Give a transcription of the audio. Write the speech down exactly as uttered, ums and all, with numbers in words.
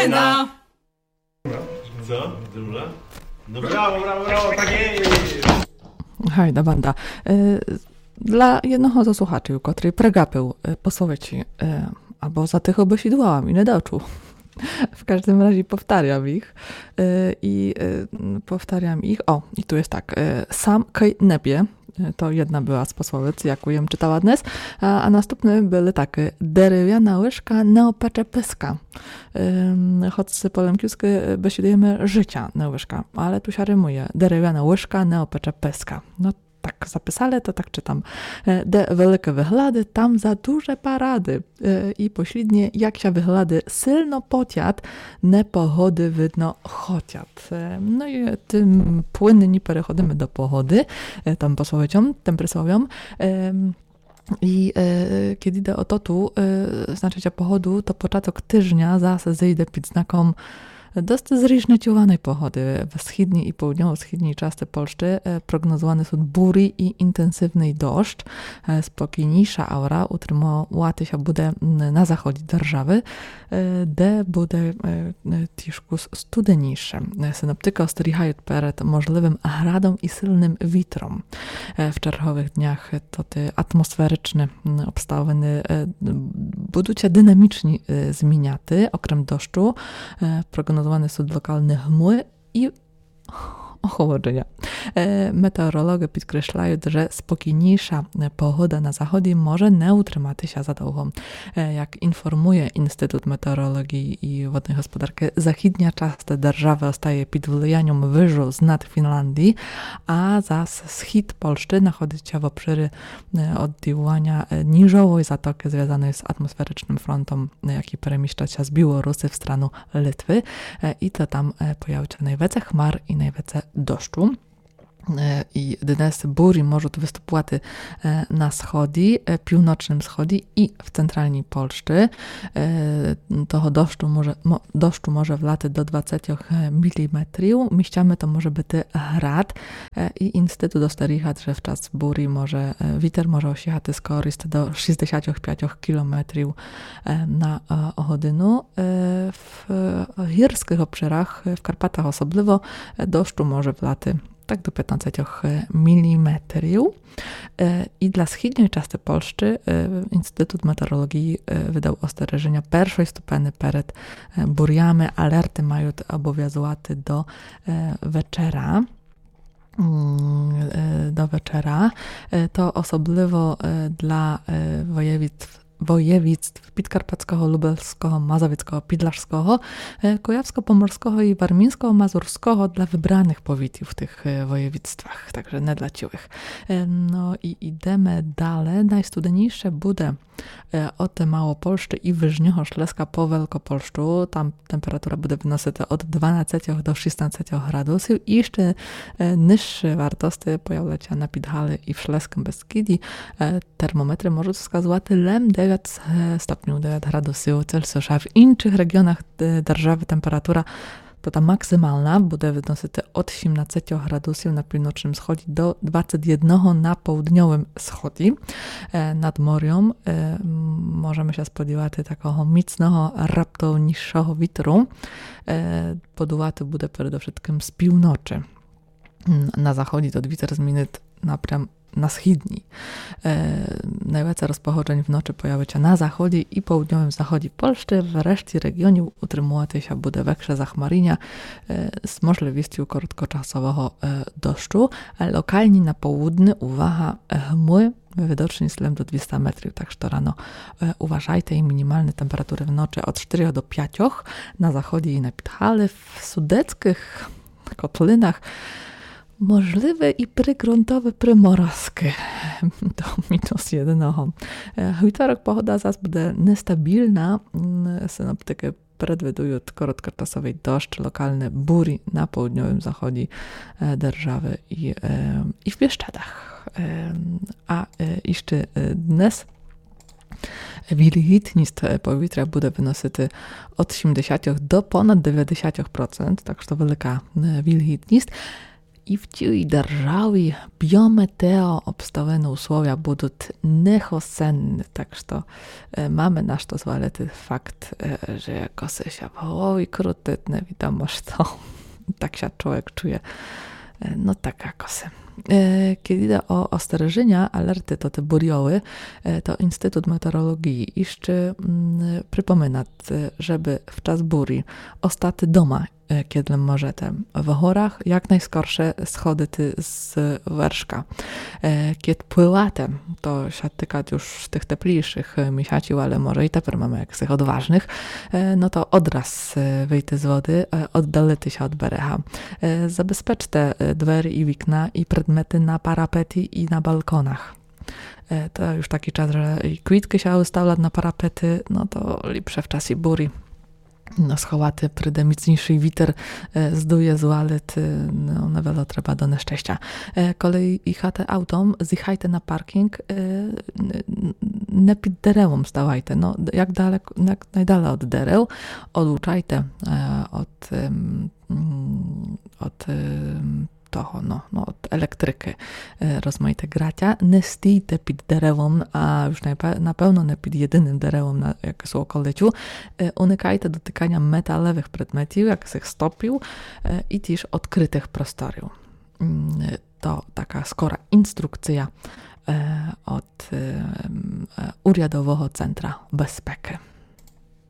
No. Co? Druga? No brawo, brawo, brawo, tak jest! Гайда банда. Е, для єдного зо слухачів, котрый прегапив, е, пословиці, е, або затихо бесідувала і не дочув. В каждым разі повтарям їх. Е, і, е, повтарям їх. О, і ту є так. Е, сам кой не пє. Е, то єдна была з пословиц, яку єм читала днес. А, а наступны были такы. Деревяна лыжка не опече пыска. Ем, хоц по лемківскы, е, бесідуєме жытя, не лыжка, але ту ся римує. Деревяна лыжка не опече пыска. Но, так записали, то так читам. Е, де великы выглады, там за дуже парады. Е, і посліднє, як ся выглады сильно потят, непогоды видно хотят. Е, но і тым плынні переходиме до погоды, е, тым пословицьом, тым присловьом. Ем, І, е, кедь іде о тоту, е, значыт, о погоду, то початок тыжня зась зыйде під знаком доста зріжнечуваной погоды. В східній і поудньово-східній части Польщы, е, прогнозуваны сут бурі і інтенсивный дождж. Е, спокійнійша аура утримувати ся буде, м, на заході державы, е, де буде, е, е, тішку с-, студенійше. Е, синоптикы остерігають перед можливым градом і сильным вітром. Е, в черговых днях, е, тоты атмосферичны, м, обставыны, е, будуть ся динамічні, е, зміняти. Окрем дождю, е, прогнозуваны сут локалны гмы і охолоджыня. Е, метеорологы підкресляють, же спокійнійша, е, погода на заході може не утримати ся задовго. Е, як інформує Інститут метеорології і водної господаркы, західня част державы остає під влияньом выжу з над Фінландії, а зась схід Польщы находить ся в обширі, е, одділаня, е, ніжовой затокы, звязаной з атмосферичным фронтом, е, якій переміщать ся з Білоруси в страну Литвы. Е, і то там, е, появить ся найвеце хмар і найвеце дождю. Е, і днес бурі можуть выступувати, е, на сході, е, півночным сході і в централній Польщы. Е, того дождю може, мо-, дождю може влати до двадцятьох міліметрів. Місцями то може быти град. Е, і інститут остерігат, же в час бурі може, е, вітер може осігати скоріст до шістдесятьох пятьох кілометрів, е, на, е, годину. Е, в, е, гірскых обширах, е, в Карпатах особливо, е, дождю може влати так до пятнадцятьох міліметрів. Е, і для східньой части Польщы, е, Інститут метеорології, е, выдав остережыня першой ступени перед, е, бурями. Алерты мають обовязувати до, е, вечера. М, е, до вечера. Е, то особливо, е, для, е, воєвідств воєвідств підкарпатського, лубельського, мазовецького, підляшського, е, куявсько-поморського і вармінсько-мазурського для выбраных повітів в тых, е, воєвідствах, так же не для цілых. Е, но і ідеме дале. Найстуденійше буде, е, од Малопольщы і Выжнього Шлеска по Велкопольщу. Там температура буде выносити од дванадцятьох до шістнадцятьох градусів. І іщы, е, нижшы вартости появлять ся на Підгали і в Шлескым Бескіді. Е, Термометры можуть вказовати лем девять, е, стопнів, девять градусів Цельсіуса. В іншых реґіонах, е, державы температура, то та максимална, буде выносити од сімнадцятьох градусів на півночным сході до двадцять єдного на поудньовым сході. Е, над морьом, е, м, можеме ся сподівати такого міцного, раптовнійшого вітру. Е, подувати буде передовшыткым з півночы. М, на заході тот вітер змінить напрям на східній. Е, найвеце розпогоджень вночы появить ся на заході і поудньовым заході Польщы. В решті реґіонів утримовати ся буде векше захмаріня, е, з можливістю короткочасового, е, дождю. Е, локалні на поудні, увага, е, гмы, видочніст лем до двіста метрів, так што рано, е, уважайте. І мінімалны температуры вночы од штырьох до пятьох, на заході і на Підгали, в судецькых котлинах можливы і пригрунтовы приморозкы до мінус єдного. Е, вівторок погода зас буде нестабілна. М, синоптикы предвідують короткочасовый дождж, локалны бурі на поудньовым заході, е, державы і, е, і в Бієшчадах. Е, а, е, іщы, е, днес вільгітніст, е, повітря буде выносити од сімдесятьох до понад девятдесятьох процент, так што велика, е, вільгітніст. И в тій державі біометеообставины условия будут нехосенны, так што, е, маме на што звалити факт, е, же якоси ся в голові крутит, невідомо што. Так ся чловек чує. Е, но так якоси. Е, кед іде о остереженя, алерты тоты бурйови, е, то Інститут метеоролоґії іщы, м, припоминат, е, жебы в час бурі остати дома, е, кед лем можете. В горах як найскорше сходити з вершка. Е, кед плывате, то ся тыкат юж тых теплійшых, е, місяців, але може і теперь маме якысых одважных, е, но то одраз, е, выйти з воды, е, оддалити ся од берега. Е, забезпечте, е, двері і вікна, і предметы на парапеті, і на балконах. Е, то юж такій час, же і квіткы ся выставлят на парапеты, но то ліпше в часі бурі. Но, сховати, приде міцнійшый вітер, е, здує, звалит, е, но, невело треба до нещестя. Е, коли їхате автом, зїхайте на паркінґ, е, н-, н-, не під деревом ставайте, но, д-, як далеко, як найдале од дерев, одлучайте, е, од, ем, м, од, ем, того, но, но, од електрикы, е, розмаїте ґратя. Не стійте під деревом, а юж найпе-, напевно не під єдиным деревом на якымсь околицю. Е, уникайте дотыканя металевых предметів, якысых стопів, е, і тіж одкрытых просторів. М, е, то така скора інструкція, е, од, е, м, е, Урядового центра безпекы.